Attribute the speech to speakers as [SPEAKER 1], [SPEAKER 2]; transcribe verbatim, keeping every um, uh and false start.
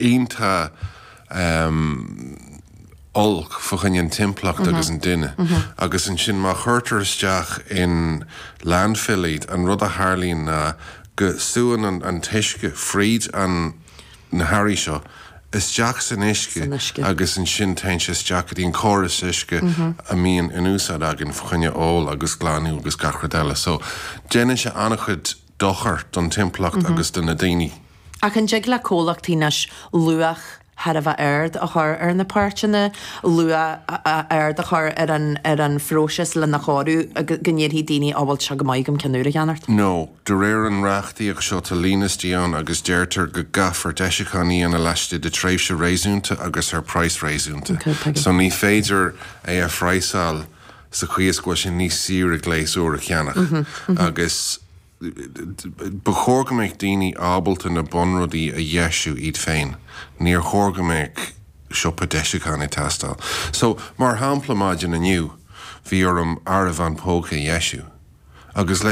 [SPEAKER 1] iontach um, olc fá choinne an timpeallacht agus an duine. Agus ansin má chuirtear isteach in landfill iad an rud a tharlaíonn ná go súnn an, an t-uisce fríd an na hearraí seo isteach san uisce
[SPEAKER 2] San uisce.
[SPEAKER 1] agus ansin téann sé isteach go dtí an córas uisce a mbíonn in úsáid againn fá choinne ól agus glanadh agus gach rud eile. So déanann sé an-chuid dochar don timpeallacht agus do na daoine.
[SPEAKER 2] Ach an dtig le comhlachtaí anois luach thar a bheith ard a chur ar na páirteanna, luach ard a chur ar an ar an phróiseas lena chóiriú go ndéarfaidh daoine á bhfuil seo go maith agam ceann úr a cheannacht.
[SPEAKER 1] No, de réir an reachtaíocht seo tá liosta ann agus deirtear go gcaithfear deisiúcháin a dhéanamh laistigh de tréimhse réasúnta agus ar praghas réasúnta.
[SPEAKER 2] Okay, tuigim.
[SPEAKER 1] So ní féidir é a phraghsáil sa chaoi is go bhfuil sé níos saoire gléas úr a cheannach. Agus ba chóir go mbeadh daoine ábalta na bunrudaí a dheisiú iad féin. Níor chóir go mbeadh siopa deisiúcháin ag teastáil. So mar shampla maidin inniu, bhí orm áireamhán póca a dheisiú. Agus leis